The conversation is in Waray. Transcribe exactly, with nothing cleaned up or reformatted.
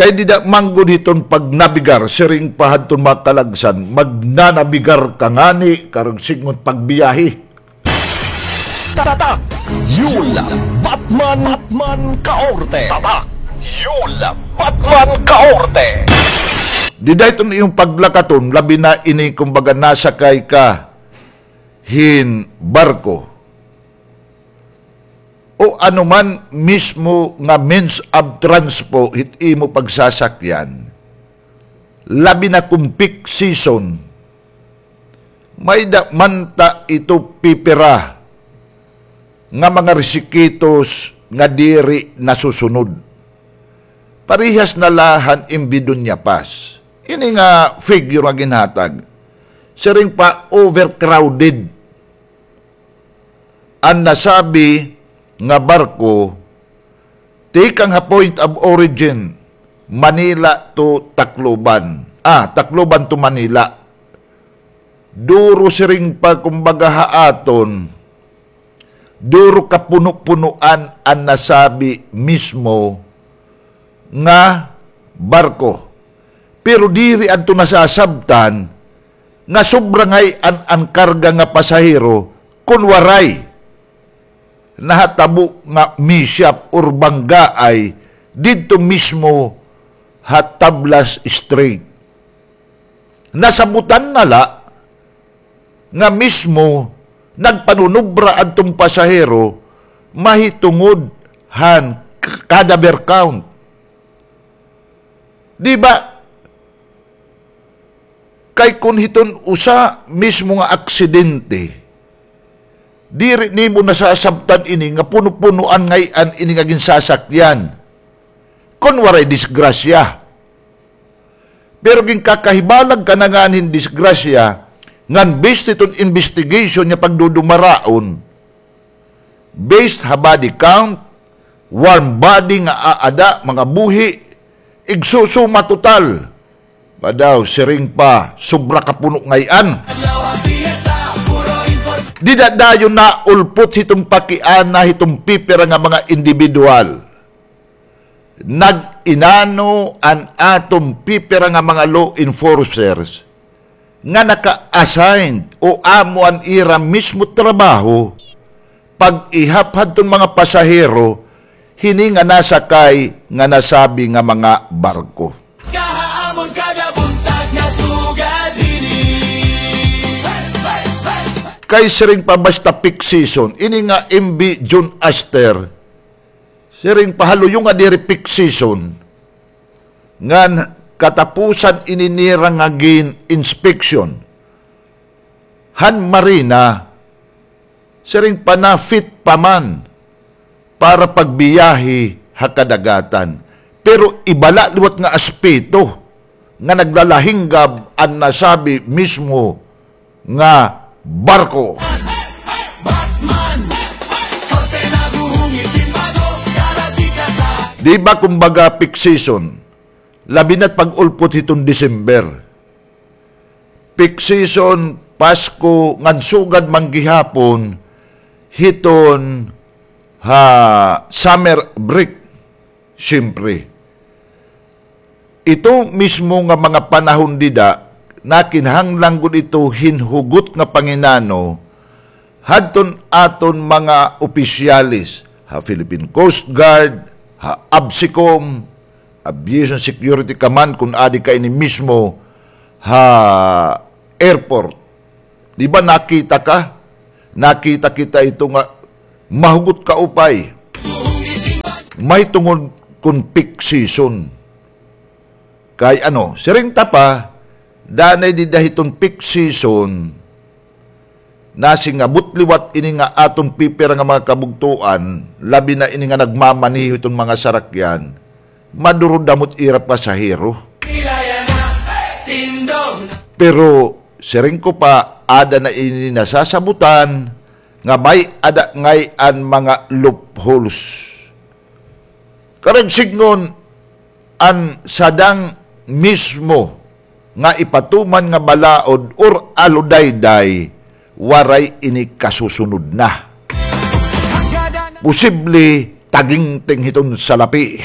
Dida man gud hiton pagnabigar, siring pa hadton mga kalagsan, magnanabigar ka ngani, karuyag sidngon pagbiyahe. Tatak Yul Batman, Batman Kaorte. Tatak Yul Batman Kaorte. Dida hiton imo paglakaton, labi na ini kumbaga nasakay ka hin barko o ano man mismo nga means of transpo hit imo pagsasakyan, labi na kon peak season, may-ada man ta ito pipira nga mga risikitos nga diri nasusunod. Parehas na la han M V Doña Paz. Ini nga figure nga ginhatag, siring pa overcrowded an nasabi nga barko, tikang ha point of origin, Manila to Tacloban. Ah, Tacloban to Manila. Duro siring pa, kumbaga, ha aton, duro kapuno-punoan an nasabi mismo nga barko. Pero diri adto nasasabtan nga sobra ngay-an an karga nga pasahero kon waray nahatabo nga mishap or banggaay didto mismo ha Tablas Strait. Nasabutan na la nga mismo nagpanunubra adtong pasahero mahitungod han k-, cadaver count. Di ba? Kay kon hiton usa mismo nga aksidente, diri nimo nasasabtan ini nga puno-punoan ngay-an ini nga ginsasakyan kon waray disgrasya. Pero ginkakahibalag ka na ngani hin disgrasya, ngan based hiton investigation nga pagdudumaraon, based ha body count, warm body nga aada, mga buhi, igsusuma total. Ba daw, siring pa, sobra kapuno ngay-an. Dida dayon naulpot hiton pakiana hiton pipira nga mga individual. Nag-inano an aton pipira nga mga law enforcers nga naka-assigned o amo an ira mismo trabaho pag-ihap hadton mga pasahero hini nga nasakay nga nasabi nga mga barko. Kaha amon kada buntag nga sugad hini. Kay siring pa basta peak season, ini nga M V June Aster, siring pa ha luyo nga diri peak season, ngan katapusan ini nira nga gin-inspection han marina, siring pa na-fit pa man para pagbiyahe ha kadagatan. Pero iba la liwat nga aspeto nga naglalahinggab an nasabi mismo nga barko. Di ba, kumbaga, peak season, labi na't pag-ulpot hiton December. Peak season, Pasko, ngan sugad man gihapon hiton ha summer break. Siyempre, ito mismo nga mga panahon dida, nakinahanglan gud ito hin hugot nga panginano hadton aton mga opisyales ha Philippine Coast Guard, ha ABSECOM, Aviation Security Command, kun adi ka ini mismo ha airport. Di ba nakita ka? Nakita kita ito nga mahugot kaupay. Mahitungod kon peak season. Kay ano, siring ta pa, danay dida hiton peak season, nasingabot liwat ini nga aton pipira nga mga kabugtoan, labi na ini nga nagmamaneho hiton mga sarakyan, madurod namot ira pasahero. Pero siring ko pa, ada na ini nasasabutan nga may-ada ngay-an mga loopholes. Karuyag sidngon, an sadang mismo nga ipatuman nga balaod or aludayday, waray ini kasusunod na. Posible tagingting hiton salapi.